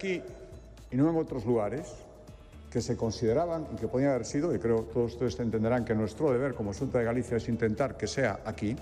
Aquí y no en otros lugares que se consideraban y que podían haber sido, y creo que todos ustedes entenderán que nuestro deber como Xunta de Galicia es intentar que sea aquí,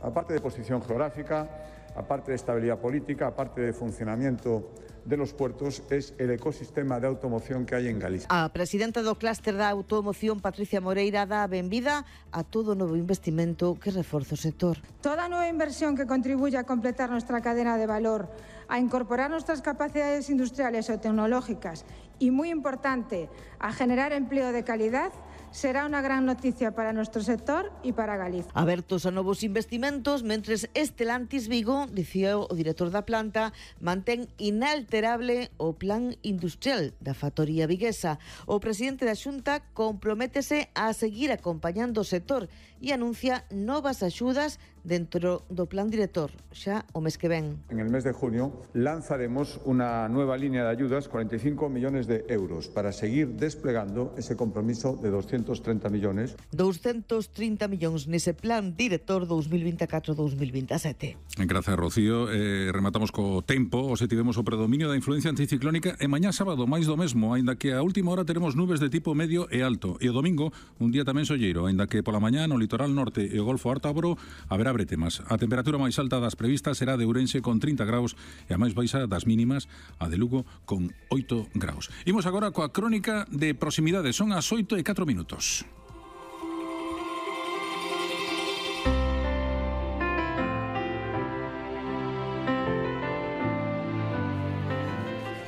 aparte de posición geográfica, aparte de estabilidad política, aparte de funcionamiento de los puertos, es el ecosistema de automoción que hai en Galicia. A presidenta do clúster da automoción, Patricia Moreira, dá a benvida a todo novo investimento que reforza o sector. Toda nueva inversión que contribuya a completar nuestra cadena de valor, a incorporar nuestras capacidades industriales o tecnológicas y, muy importante, a generar empleo de calidad, será unha gran noticia para nuestro sector e para Galicia. Abertos a novos investimentos, mentres Estelantis Vigo, dicía o director da planta, mantén inalterable o plan industrial da factoría viguesa. O presidente da Xunta comprométese a seguir acompañando o sector e anuncia novas axudas dentro do plan director, xa o mes que ven. En el mes de junio lanzaremos una nueva línea de ayudas, 45 millones de euros, para seguir desplegando ese compromiso de 230 millones. 230 millóns nese plan director 2024-2027. Gracias, Rocío. Rematamos co tempo. Hoxe tivemos o predominio da influencia anticiclónica e mañá sábado máis do mesmo, aínda que a última hora teremos nubes de tipo medio e alto. E o domingo, un día tamén solleiro, aínda que pola mañá no litoral norte e o Golfo Ártabro haberá bretemas. A temperatura máis alta das previstas será de Ourense con 30 graus e a máis baixa das mínimas, a de Lugo con 8 graus. Imos agora coa crónica de proximidade. Son as 8:04.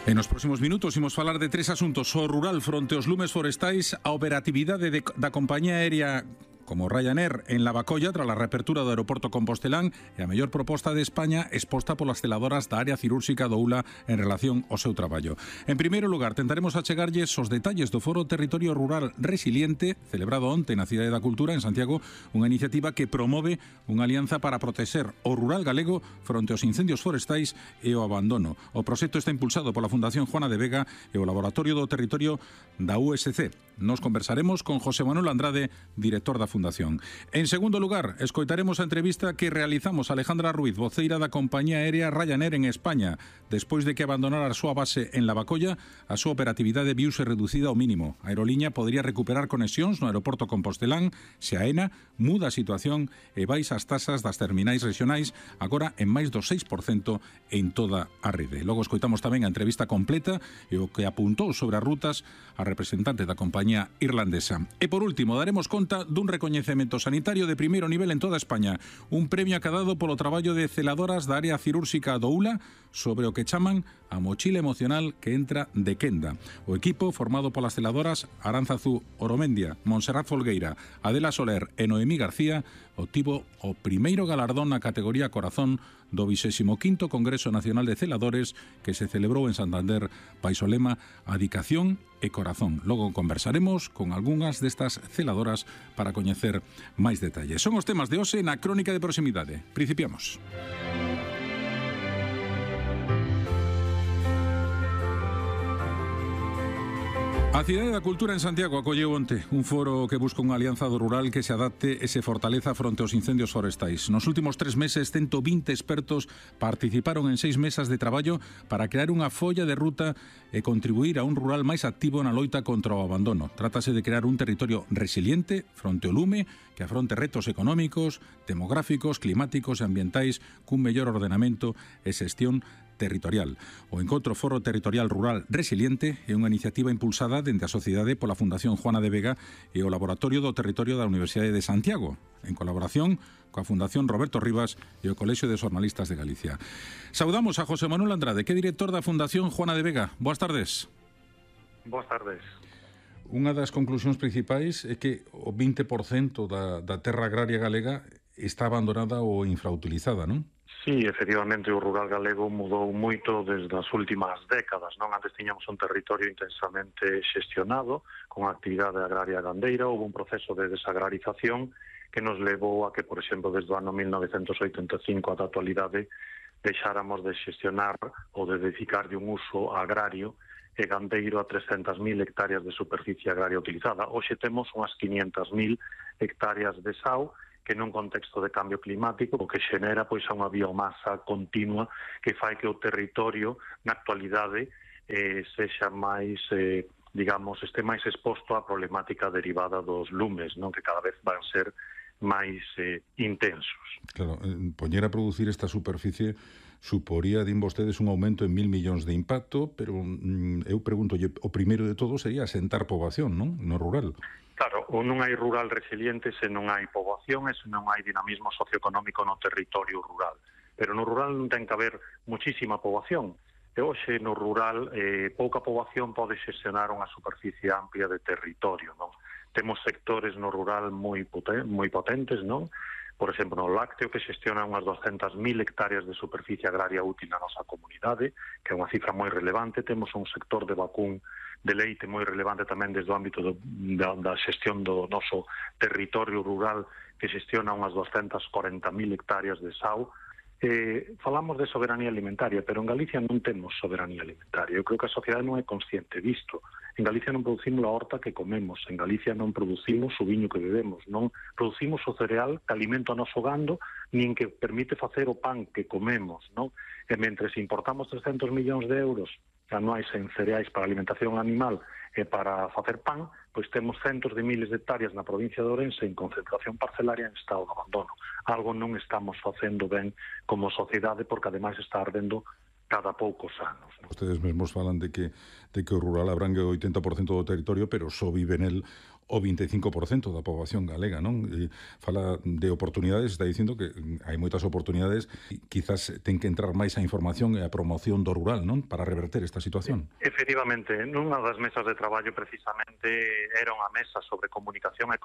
En os próximos minutos imos falar de tres asuntos: o rural fronte aos lumes forestais, a operatividade da compañía aérea como Ryanair en Lavacolla tras a reapertura do aeroporto compostelán e a mellor proposta de España exposta polas celadoras da área cirúrxica do ULA en relación ao seu traballo. En primeiro lugar, tentaremos achegarlles os detalles do Foro Territorio Rural Resiliente celebrado onte na Cidade da Cultura en Santiago, unha iniciativa que promove unha alianza para protexer o rural galego fronte aos incendios forestais e o abandono. O proxecto está impulsado pola Fundación Juana de Vega e o Laboratorio do Territorio da USC. Nos conversaremos con José Manuel Andrade, director da Fundación. En segundo lugar, escoitaremos a entrevista que realizamos a Alejandra Ruiz, voceira da compañía aérea Ryanair en España. Despois de que abandonara a súa base en Lavacolla, a súa operatividade viuse reducida ao mínimo. A aerolínea podría recuperar conexións no aeroporto compostelán se a ENA muda a situación e baixa as tasas das terminais regionais, agora en máis do 6% en toda a rede. Logo escoitamos tamén a entrevista completa e o que apuntou sobre as rutas a representante da compañía irlandesa. E por último, daremos conta dun recoñecemento sanitario de primeiro nivel en toda España, un premio acadado polo traballo de celadoras da área cirúrxica do ULA sobre o que chaman a mochila emocional que entra de quenda. O equipo, formado polas celadoras Aránzazu Oromendia, Montserrat Folgueira, Adela Soler e Noemí García, obtivo o primeiro galardón na categoría Corazón do 25º Congreso Nacional de Celadores que se celebrou en Santander baixo o lema Adicación e Corazón. Logo conversaremos con algunhas destas celadoras para coñecer máis detalles. Son os temas de hoxe na Crónica de Proximidade. Principiamos. A Cidade da Cultura en Santiago acolleu onte un foro que busca unha alianza do rural que se adapte e se fortaleza fronte aos incendios forestais. Nos últimos 3 meses, 120 expertos participaron en 6 mesas de traballo para crear unha folla de ruta e contribuir a un rural máis activo na loita contra o abandono. Trátase de crear un territorio resiliente fronte ao lume que afronte retos económicos, demográficos, climáticos e ambientais cun mellor ordenamento e xestión territorial. O Encontro Foro Territorial Rural Resiliente é unha iniciativa impulsada dende a sociedade pola Fundación Juana de Vega e o Laboratorio do Territorio da Universidade de Santiago, en colaboración coa Fundación Roberto Rivas e o Colexio de Xornalistas de Galicia. Saudamos a José Manuel Andrade, que é director da Fundación Juana de Vega. Boas tardes. Boas tardes. Unha das conclusións principais é que o 20% da terra agraria galega está abandonada ou infrautilizada, non? Sí, efectivamente, o rural galego mudou moito desde as últimas décadas, non? Antes tiñamos un territorio intensamente xestionado, con actividade agraria gandeira, houve un proceso de desagrarización que nos levou a que, por exemplo, desde o ano 1985 ata a actualidade, deixáramos de xestionar ou de dedicar de un uso agrario e gandeiro a 300.000 hectáreas de superficie agraria utilizada. Hoxe temos unhas 500.000 hectáreas de SAU, que nun contexto de cambio climático o que xenera pois a unha biomasa continua que fai que o territorio na actualidade sexa máis, digamos, este máis exposto á problemática derivada dos lumes, non, que cada vez van ser máis intensos. Claro, poñer a producir esta superficie suporía, din vostedes, un aumento en 1.000 millóns de impacto, pero eu pregunto, o primeiro de todo sería asentar poboación, non? No rural. Claro, non hai rural resiliente se non hai poboación e se non hai dinamismo socioeconómico no territorio rural. Pero no rural non ten que haber muchísima poboación. E hoxe no rural pouca poboación pode xestionar unha superficie amplia de territorio, non? Temos sectores no rural moi potentes, non? Por exemplo, no lácteo, que xestiona unhas 200.000 hectáreas de superficie agraria útil na nosa comunidade, que é unha cifra moi relevante. Temos un sector de vacún de leite moi relevante tamén desde o ámbito da xestión do noso territorio rural, que xestiona unhas 240.000 hectáreas de sau. Falamos de soberanía alimentaria, pero en Galicia non temos soberanía alimentaria. Eu creo que a sociedade non é consciente disto. En Galicia non producimos a horta que comemos, en Galicia non producimos o viño que bebemos, non producimos o cereal que alimenta o noso gando, nin que permite facer o pan que comemos, non? E mentres importamos 300 millóns de euros anuais en cereais para alimentación animal e para facer pan, pois temos centos de miles de hectáreas na provincia de Ourense en concentración parcelaria en estado de abandono. Algo non estamos facendo ben como sociedade, porque ademais está ardendo cada poucos anos. Ustedes mesmos falan de que o rural abrangue o 80% do territorio, pero só vive nel o 25% da poboación galega, non? Fala de oportunidades, está dicindo que hai moitas oportunidades, quizás ten que entrar máis a información e a promoción do rural, non? Para reverter esta situación. Efectivamente, nunha das mesas de traballo precisamente era unha mesa sobre comunicación e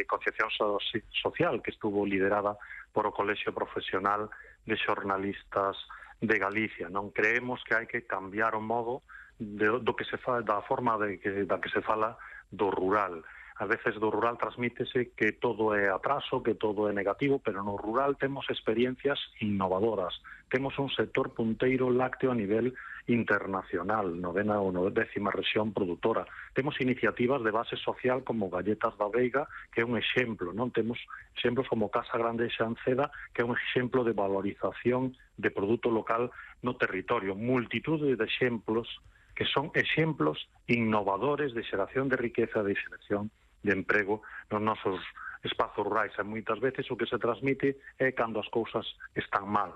concienciación social, que estuvo liderada por o Colexio Profesional de Xornalistas de Galicia, non? Creemos que hai que cambiar o modo do que se fala, da forma da que se fala do rural. A veces do rural transmítese que todo é atraso, que todo é negativo, pero no rural temos experiencias innovadoras. Temos un sector punteiro lácteo a nivel internacional, 9ª ou 10ª rexión produtora. Temos iniciativas de base social como Galletas da Veiga, que é un exemplo, non? Temos exemplos como Casa Grande de Xanceda, que é un exemplo de valorización de produto local no territorio. Multitude de exemplos que son exemplos innovadores de xeración de riqueza, de xeración de emprego nos nosos espazos rurais. E moitas veces o que se transmite é cando as cousas están mal,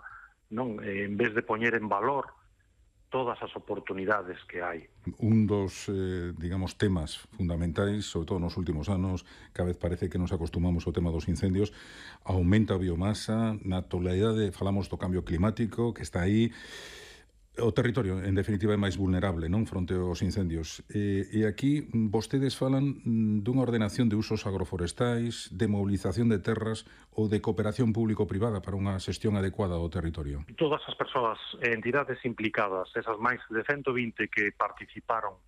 non? En vez de poñer en valor todas as oportunidades que hai. Un dos, digamos, temas fundamentais, sobre todo nos últimos anos, cada vez parece que nos acostumamos ao tema dos incendios, aumenta a biomasa, na actualidade falamos do cambio climático, que está aí. O territorio, en definitiva, é máis vulnerable, non, fronte aos incendios. E aquí vostedes falan dunha ordenación de usos agroforestais, de mobilización de terras ou de cooperación público-privada para unha xestión adecuada do territorio. Todas as persoas e entidades implicadas, esas máis de 120 que participaron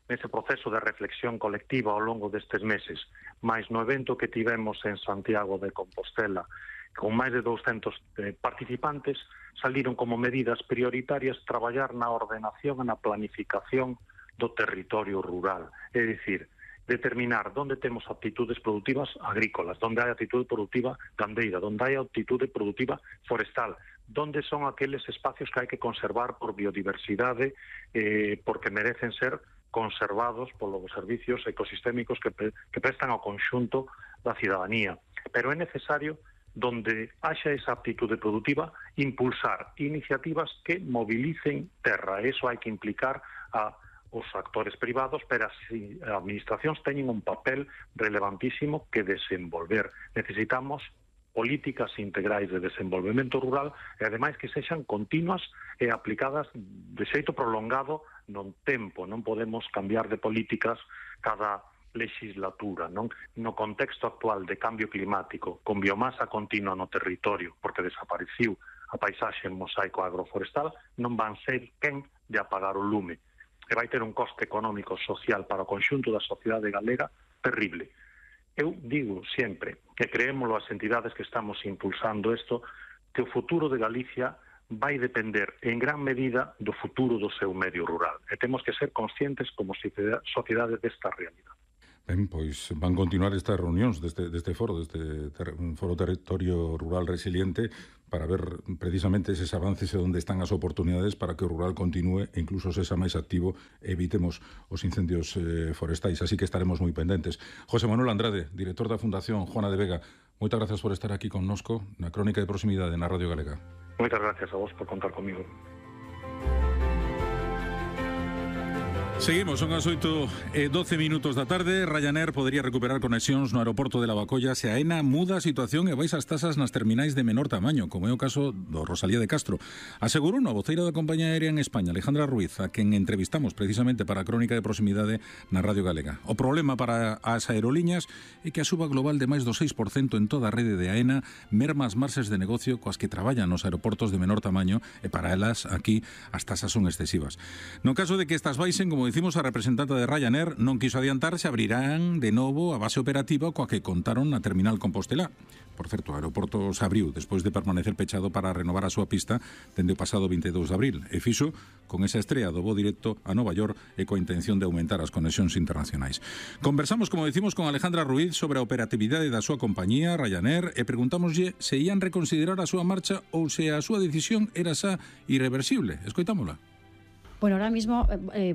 nese proceso de reflexión colectiva ao longo destes meses, máis no evento que tivemos en Santiago de Compostela, con máis de 200 participantes, saliron como medidas prioritarias traballar na ordenación e na planificación do territorio rural. É dicir, determinar onde temos aptitudes productivas agrícolas, onde hai actitude productiva gandeira, onde hai actitude productiva forestal, onde son aqueles espacios que hai que conservar por biodiversidade, porque merecen ser conservados polos servicios ecosistémicos que prestan ao conxunto da cidadanía. Pero é necesario, donde haxa esa aptitude productiva, impulsar iniciativas que mobilicen terra. Eso hai que implicar a os actores privados, pero as administracións teñen un papel relevantísimo que desenvolver. Necesitamos políticas integrais de desenvolvemento rural e, ademais, que sexan continuas e aplicadas de xeito prolongado no tempo. Non podemos cambiar de políticas cada legislatura, non? No contexto actual de cambio climático, con biomasa continua no territorio, porque desapareciu a paisaxe en mosaico agroforestal, non van ser quen de apagar o lume. E vai ter un coste económico social para o conxunto da sociedade galega terrible. Eu digo sempre que creémolo as entidades que estamos impulsando isto, que o futuro de Galicia vai depender en gran medida do futuro do seu medio rural. E temos que ser conscientes como sociedade desta realidade. Pois van continuar estas reunións deste foro, Foro Territorio Rural Resiliente, para ver precisamente eses avances e onde están as oportunidades para que o rural continúe e incluso sexa máis activo e evitemos os incendios forestais. Así que estaremos moi pendentes. José Manuel Andrade, director da Fundación Juana de Vega, moitas gracias por estar aquí con nosco na Crónica de Proximidade na Radio Galega. Moitas gracias a vos por contar comigo. Seguimos, son as 8:12 da tarde. Ryanair podería recuperar conexións no aeroporto de Lavacolla se a AENA muda a situación e baixa as tasas nas terminais de menor tamaño, como é o caso do Rosalía de Castro. Asegurou a voceira da compañía aérea en España, Alejandra Ruiz, a quen entrevistamos precisamente para a Crónica de Proximidade na Radio Galega. O problema para as aerolíneas é que a suba global de máis do 6% en toda a rede de AENA merma as marxes de negocio coas que traballan nos aeroportos de menor tamaño e para elas aquí as tasas son excesivas. No caso de que estas baixen, como dicimos, a representante de Ryanair non quiso adiantar se abrirán de novo a base operativa coa que contaron na terminal Compostelá. Por certo, o aeroporto se abriu despois de permanecer pechado para renovar a súa pista dende o pasado 22 de abril e fixo con esa estrea do voo directo a Nova York e coa intención de aumentar as conexións internacionais. Conversamos, como decimos, con Alejandra Ruiz sobre a operatividade da súa compañía, Ryanair, e preguntámoslle se ían reconsiderar a súa marcha ou se a súa decisión era xa irreversible. Escoitámola. Bueno, ahora mismo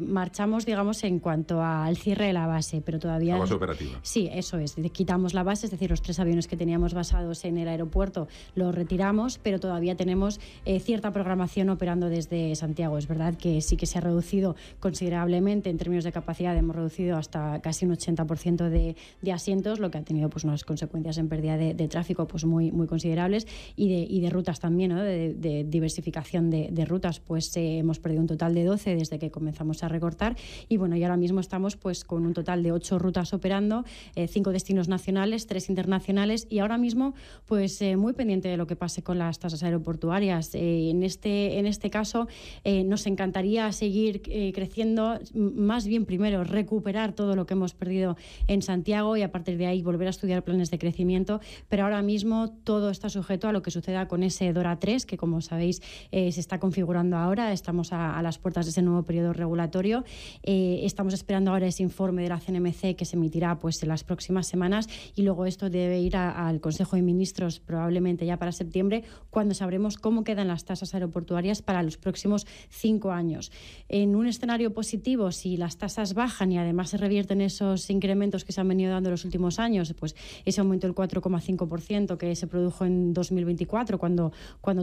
marchamos, digamos, en cuanto al cierre de la base, pero todavía... La base operativa. Sí, eso es. Quitamos la base, es decir, los 3 aviones que teníamos basados en el aeropuerto los retiramos, pero todavía tenemos cierta programación operando desde Santiago. Es verdad que sí que se ha reducido considerablemente en términos de capacidad, hemos reducido hasta casi un 80% de asientos, lo que ha tenido pues unas consecuencias en pérdida de tráfico pues muy considerables y de rutas también, ¿no? de diversificación de rutas, pues hemos perdido un total de 12 desde que comenzamos a recortar y bueno, y ahora mismo estamos pues con un total de 8 rutas operando, 5 destinos nacionales, 3 internacionales y ahora mismo pues muy pendiente de lo que pase con las tasas aeroportuarias. En este caso nos encantaría seguir creciendo, más bien primero recuperar todo lo que hemos perdido en Santiago y a partir de ahí volver a estudiar planes de crecimiento, pero ahora mismo todo está sujeto a lo que suceda con ese DORA 3 que como sabéis se está configurando ahora, estamos a las puertas de ese nuevo periodo regulatorio. Estamos esperando ahora ese informe de la CNMC que se emitirá pues en las próximas semanas y luego esto debe ir al Consejo de Ministros probablemente ya para septiembre, cuando sabremos cómo quedan las tasas aeroportuarias para los próximos 5 años. En un escenario positivo, si las tasas bajan y además se revierten esos incrementos que se han venido dando en los últimos años, pues ese aumento del 4,5% que se produjo en 2024 cuando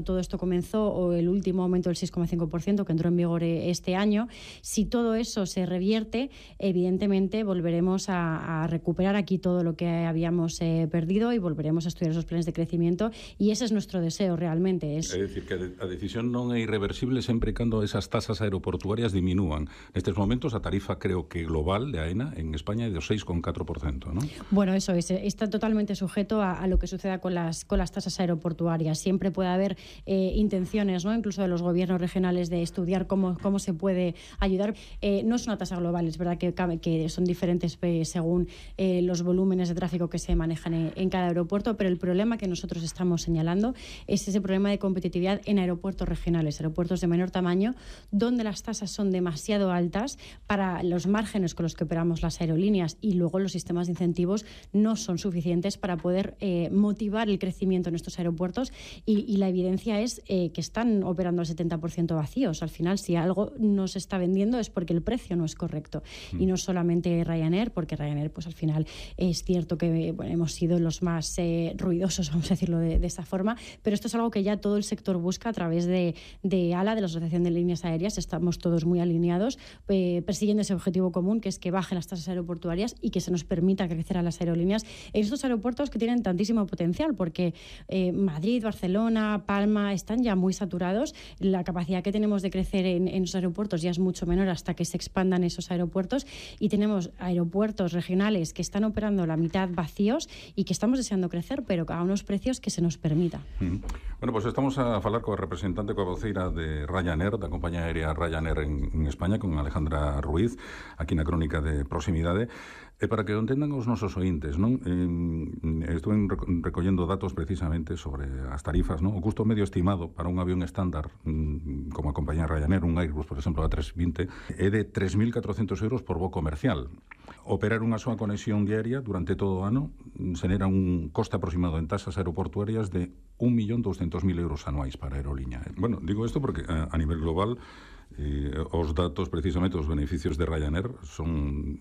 todo esto comenzó, o el último aumento del 6,5% que entró en vigor este año, si todo eso se revierte, evidentemente volveremos a recuperar aquí todo lo que habíamos perdido y volveremos a estudiar esos planes de crecimiento y ese es nuestro deseo realmente. Es decir, que a decisión non é irreversible sempre cando esas tasas aeroportuarias diminúan. Nestes momentos a tarifa creo que global de AENA en España é do 6,4%, ¿no? Bueno, eso es, está totalmente sujeto a lo que suceda con las tasas aeroportuarias. Siempre puede haber intenciones, ¿no? Incluso de los gobiernos regionales de estudiar cómo se puede ayudar. No es una tasa global, es verdad que son diferentes según los volúmenes de tráfico que se manejan en cada aeropuerto, pero el problema que nosotros estamos señalando es ese problema de competitividad en aeropuertos regionales, aeropuertos de menor tamaño, donde las tasas son demasiado altas para los márgenes con los que operamos las aerolíneas y luego los sistemas de incentivos no son suficientes para poder motivar el crecimiento en estos aeropuertos y la evidencia es que están operando al 70% vacíos. Al final, si algo no se está vendiendo es porque el precio no es correcto y no solamente Ryanair, porque Ryanair pues al final es cierto que hemos sido los más ruidosos, vamos a decirlo de esta forma, pero esto es algo que ya todo el sector busca a través de ALA, de la Asociación de Líneas Aéreas. Estamos todos muy alineados persiguiendo ese objetivo común, que es que bajen las tasas aeroportuarias y que se nos permita crecer a las aerolíneas en estos aeropuertos que tienen tantísimo potencial, porque Madrid, Barcelona, Palma están ya muy saturados. La capacidad que tenemos de crecer en los aeropuertos ya es mucho menor hasta que se expandan esos aeropuertos y tenemos aeropuertos regionales que están operando la mitad vacíos y que estamos deseando crecer, pero a unos precios que se nos permita. Bueno, pues estamos a falar coa representante, coa voceira de Ryanair, da compañía aérea Ryanair en España, con Alejandra Ruiz, aquí na Crónica de Proximidade. Para que o entendan os nosos ointes, non? Estuve recollendo datos precisamente sobre as tarifas, non? O custo medio estimado para un avión estándar, como a compañía Ryanair, un Airbus, por exemplo, A320, é de 3.400 euros por voo comercial. Operar unha súa conexión diaria durante todo o ano xenera un coste aproximado en tasas aeroportuarias de 1.200.000 euros anuais para a aerolínea. Bueno, digo isto porque a nivel global os datos, precisamente, os beneficios de Ryanair son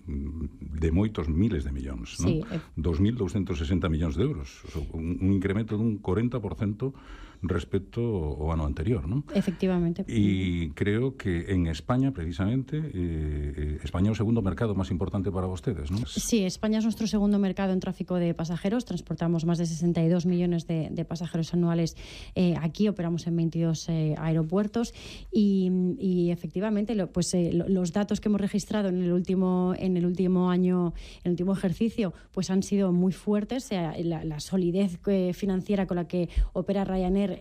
de moitos miles de millóns, non? Sí. 2.260 millóns de euros, un incremento dun 40% respecto ao ano anterior, non? Efectivamente. E creo que en España, precisamente, España é o segundo mercado máis importante para vostedes, non? Sí, España es nuestro segundo mercado en tráfico de pasajeros. Transportamos más de 62 millones de pasajeros anuales aquí. Operamos en 22 aeropuertos y efectivamente, los datos que hemos registrado en el último año, en el último ejercicio, pues han sido muy fuertes. La solidez financiera con la que opera Ryanair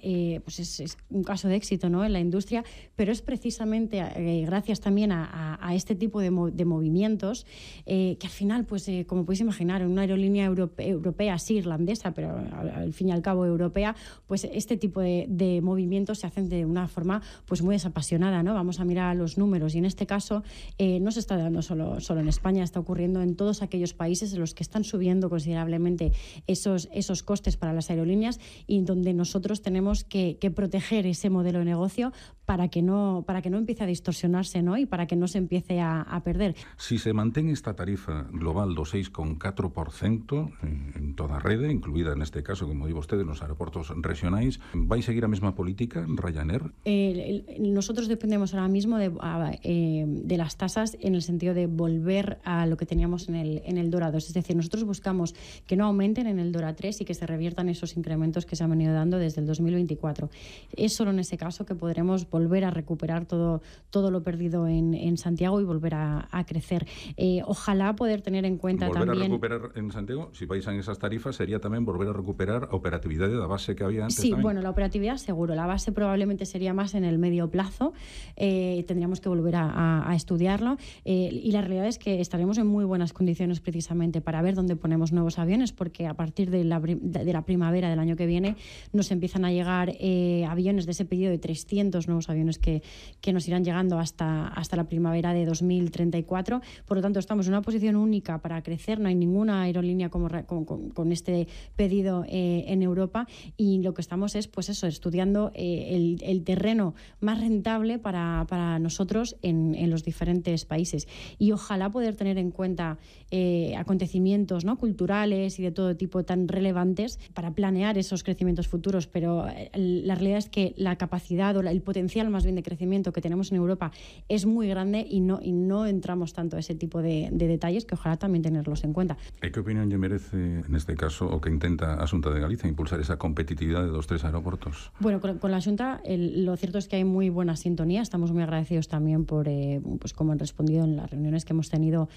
pues es un caso de éxito, ¿no?, en la industria, pero es precisamente gracias también a este tipo de movimientos que al final, pues como podéis imaginar, en una aerolínea europea, sí irlandesa, pero al fin y al cabo europea, pues este tipo de movimientos se hacen de una forma pues muy desapasionada, ¿no? Vamos a mirar los números y en este caso no se está dando solo en España, está ocurriendo en todos aquellos países en los que están subiendo considerablemente esos costes para las aerolíneas y donde nosotros tenemos que proteger ese modelo de negocio para que no empiece a distorsionarse, ¿no?, y para que no se empiece a perder. Si se mantén esta tarifa global do 6,4% en toda a rede, incluída neste caso, como di vostede, nos aeroportos regionais, vai seguir a mesma política Ryanair? Nosotros dependemos ahora mismo de las tasas en el sentido de volver a lo que teníamos en el DORA 2. Es decir, nosotros buscamos que no aumenten en el DORA 3 y que se reviertan esos incrementos que se han venido dando desde el 2024. Es solo en ese caso que podremos volver a recuperar todo lo perdido en Santiago y volver a crecer. Ojalá poder tener en cuenta volver también... Volver a recuperar en Santiago, si vais en esas tarifas, sería tamén volver a recuperar a operatividade da base que había antes. Sí, tamén. Bueno, la operatividad seguro. La base probablemente sería más en el medio plazo. Tendríamos que volver a estudiarlo. Y la realidad es que estaremos en muy buenas condiciones precisamente para ver dónde ponemos nuevos aviones, porque a partir de la primavera del año que viene nos empiezan a llegar aviones de ese pedido de 300 nuevos aviones que nos irán llegando hasta la primavera de 2034. Por lo tanto, estamos en una posición única para crecer. No hay ninguna aerolínea con este pedido en Europa y lo que estamos es, pues eso, estudiando el terreno más rentable para nosotros en los diferentes países. Y ojalá poder tener en cuenta acontecimientos, ¿no?, culturales y de todo tipo tan relevantes para planear esos crecimientos futuros, pero la realidad es que la capacidad o el potencial más bien de crecimiento que tenemos en Europa es muy grande y no entramos tanto a ese tipo de detalles, que ojalá también tenerlos en cuenta. ¿Y qué opinión lle merece neste caso o que intenta a Xunta de Galicia impulsar esa competitividade dos tres aeroportos? Bueno, con la Xunta lo cierto es que hay muy buena sintonía. Estamos muy agradecidos también por pues como han respondido en las reuniones que hemos tenido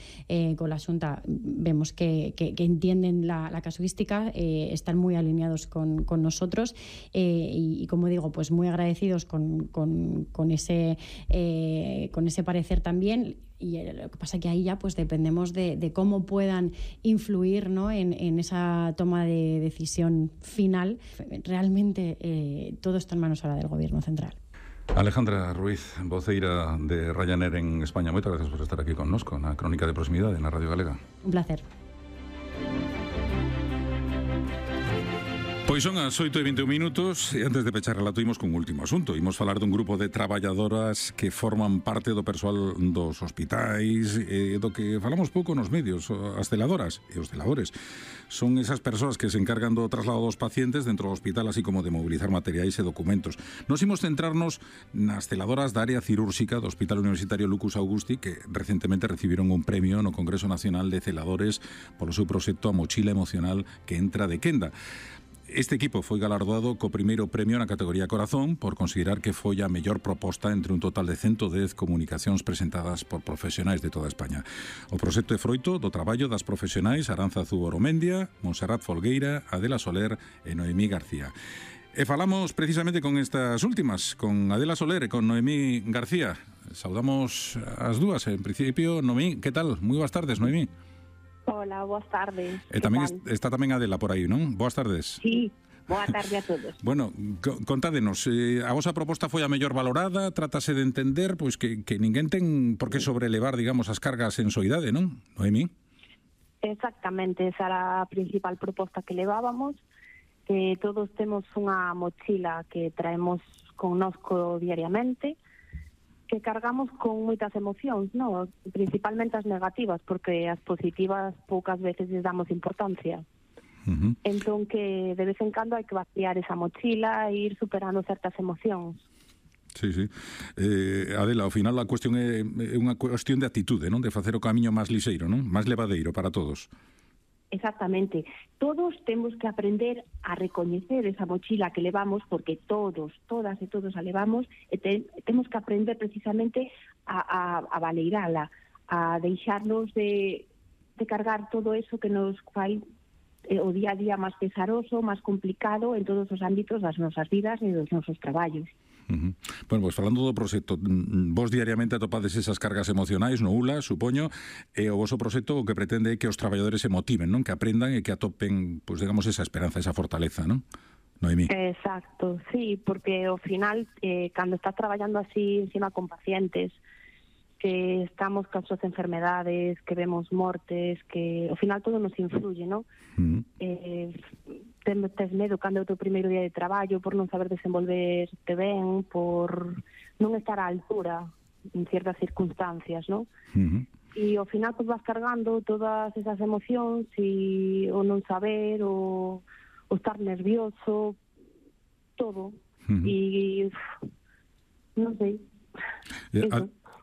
con la Xunta. Vemos que entienden la casuística, están muy alineados con nosotros y como digo, pues muy agradecidos con ese parecer también. Y lo que pasa es que ahí ya pues dependemos de cómo puedan influir, ¿no?, en esa toma de decisión final. Realmente todo está en manos ahora del Gobierno central. Alejandra Ruiz, voceira de Ryanair en España, moitas gracias por estar aquí connosco na Crónica de Proximidade na Radio Galega. Un placer. Pois son as 8:21 e antes de pechar relato imos cun último asunto. Imos falar dun grupo de traballadoras que forman parte do persoal dos hospitais do que falamos pouco nos medios. As celadoras e os celadores son esas persoas que se encargan do traslado dos pacientes dentro do hospital, así como de mobilizar materiais e documentos. Nos imos centrarnos nas celadoras da área cirúrxica do Hospital Universitario Lucas Augusti, que recentemente recibiron un premio no Congreso Nacional de Celadores polo seu proxecto A Mochila Emocional que entra de quenda. Este equipo foi galardoado co primeiro premio na categoría Corazón por considerar que foi a mellor proposta entre un total de 110 comunicacións presentadas por profesionais de toda España. O proxecto é froito do traballo das profesionais Aránzazu Oromendia, Montserrat Folgueira, Adela Soler e Noemí García. E falamos precisamente con estas últimas, con Adela Soler e con Noemí García. Saudamos as dúas. En principio, Noemí, que tal? Moi boas tardes, Noemí. Hola, boas tardes. E tamén está tamén Adela por aí, non? Boas tardes. Sí, Boa tarde a todos. Bueno, contádenos, a vosa proposta foi a mellor valorada, trátase de entender pois que ninguén ten por que sobrelevar, digamos, as cargas en soidade, non? Noemí? Exactamente, esa era a principal proposta que levábamos, que todos temos unha mochila que traemos connosco diariamente, que cargamos con moitas emocións, non? Principalmente as negativas, porque as positivas poucas veces les damos importancia. Entón que de vez en cando hai que vaciar esa mochila e ir superando certas emocións. Sí. Adela, ao final a cuestión é unha cuestión de atitude, non? De facer o camiño máis lixeiro, non? Máis levadeiro para todos. Exactamente. Todos temos que aprender a recoñecer esa mochila que levamos, porque todas e todos a levamos, e temos que aprender precisamente a valeirala, a deixarnos de cargar todo eso que nos fai o día a día máis pesaroso, máis complicado en todos os ámbitos das nosas vidas e dos nosos traballos. Bueno, pois falando do proxecto, vos diariamente atopades esas cargas emocionais no ULA, supoño, e o voso proxecto o que pretende é que os traballadores se motiven, non? Que aprendan e que atopen, pois digamos, esa esperanza, esa fortaleza, non? Noemí. Exacto, sí, porque ao final, cando estás traballando así encima con pacientes, que estamos con as enfermedades, que vemos mortes, que ao final todo nos influye, non? Tes medo cando é o teu primeiro día de traballo, por non saber desenvolverte ben, por non estar á altura en ciertas circunstancias, non? E ao final pues vas cargando todas esas emocións e o non saber, o estar nervioso, todo. E non sei.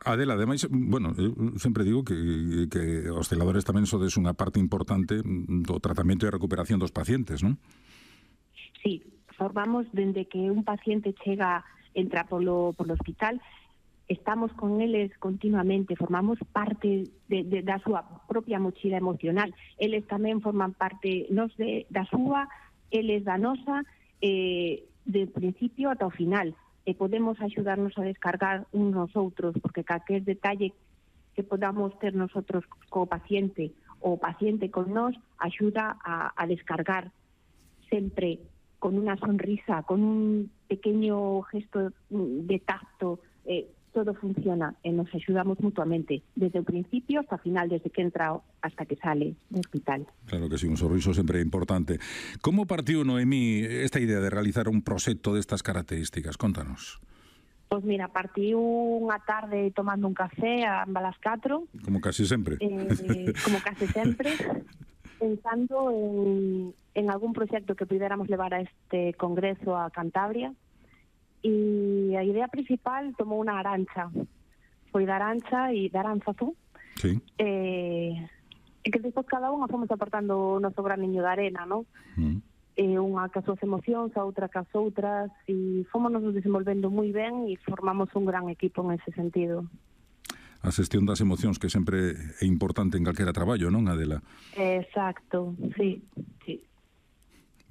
Adela, ademais, bueno, eu sempre digo que os celadores tamén sodes unha parte importante do tratamento e recuperación dos pacientes, non? Sí, formamos dende que un paciente entra polo hospital, estamos con eles continuamente, formamos parte da súa propia mochila emocional. Eles tamén forman parte da súa, eles da nosa, de principio ata o final. E podemos axudarnos a descargar uns nos outros, porque calquer detalle que podamos ter nosotros co paciente ou o paciente con nós axuda a descargar sempre con unha sonrisa, con un pequeño gesto de tacto, todo funciona e nos axudamos mutuamente, desde o principio hasta o final, desde que entra hasta que sale do hospital. Claro que sí, un sorriso sempre é importante. Como partiu, Noemí, esta idea de realizar un proxecto destas características? Contanos. Pois mira, partiu unha tarde tomando un café a ambas 4. Como casi sempre. Como casi sempre, pensando en algún proxecto que pudiéramos levar a este congreso a Cantabria. E a idea principal tomou unha Arancha. Foi da Arancha e da Aranzazu. Sí. E que despois cada unha fomos aportando o noso graniño de arena, non? Unha cas súas emocións, a outra cas outras, e fomos nos desenvolvendo moi ben e formamos un gran equipo en ese sentido. A xestión das emocións, que sempre é importante en calquera traballo, non, Adela? Exacto, sí.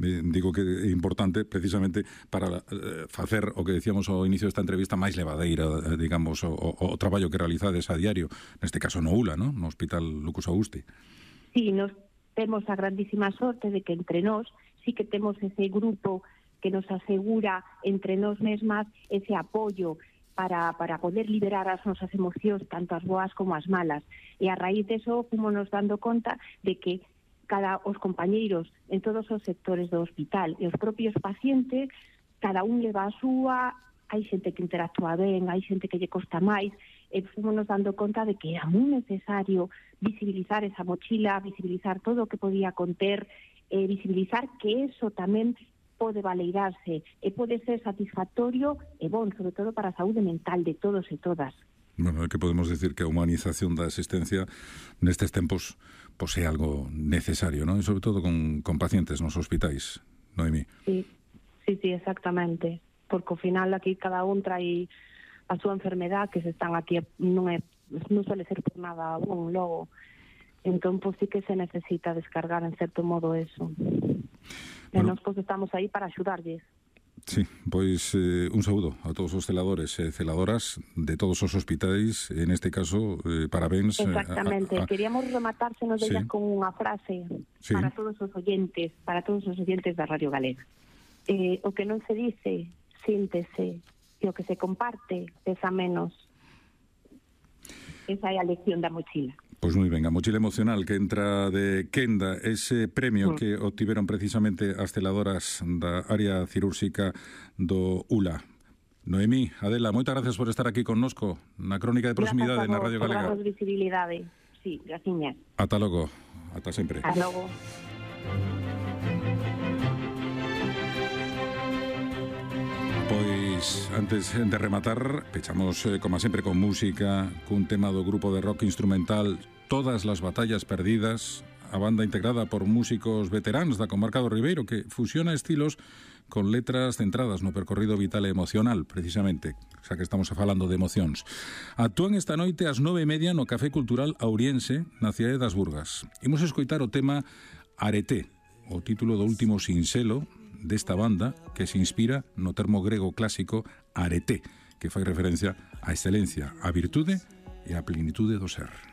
Digo que é importante precisamente para facer o que decíamos ao inicio desta entrevista máis levadeira, digamos, o traballo que realizades a diario, neste caso no ULA, ¿no? No Hospital Lucas Augusti. Sí, nos temos a grandísima sorte de que entre nós sí que temos ese grupo que nos asegura entre nós mesmas ese apoio para poder liberar as nosas emocións, tanto as boas como as malas. E a raíz deso fomos nos dando conta de que os compañeiros en todos os sectores do hospital e os propios pacientes, cada un leva a súa, hai xente que interactúa ben, hai xente que lle costa máis, e fomos nos dando conta de que era moi necesario visibilizar esa mochila, visibilizar todo o que podía conter, visibilizar que eso tamén pode valeirarse e pode ser satisfactorio e bon, sobre todo para a saúde mental de todos e todas. Bueno, é que podemos decir que a humanización da asistencia nestes tempos pois é algo necesario, non? E sobre todo con pacientes nos hospitais, Noemí. Sí, exactamente. Porque ao final aquí cada un trai a súa enfermedad, que se están aquí non suele ser por nada bon logo. Entón, pois sí que se necesita descargar en certo modo eso. E nós pois estamos aí para axudarlles. Sí, pois un saúdo a todos os celadores e celadoras de todos os hospitais, en este caso, parabéns. Exactamente, queríamos rematársenos con unha frase para todos os oyentes da Radio Galega. o que non se dice, síntese, e o que se comparte pesa menos. Esa é a lección da mochila. Pois moi ben, a mochila emocional que entra de Quenda, ese premio que obtiveron precisamente as celadoras da área cirúrxica do ULA. Noemí, Adela, moitas gracias por estar aquí connosco na Crónica de Proximidade na Radio Galega. Grazas por darnos visibilidade. Sí, graciñas. Ata logo, ata sempre. Ata logo. Pois, antes de rematar, pechamos, como sempre, con música, cun tema do grupo de rock instrumental Todas las batallas perdidas, a banda integrada por músicos veteranos da comarca do Ribeiro, que fusiona estilos con letras centradas no percorrido vital e emocional, precisamente, xa que estamos falando de emocións. Actúan esta noite ás 9:30 no Café Cultural Auriense, na cidade das Burgas. Imos escoitar o tema Areté, o título do último sinxelo desta banda, que se inspira no termo grego clásico areté, que fai referencia á excelencia, á virtude e á plenitude do ser.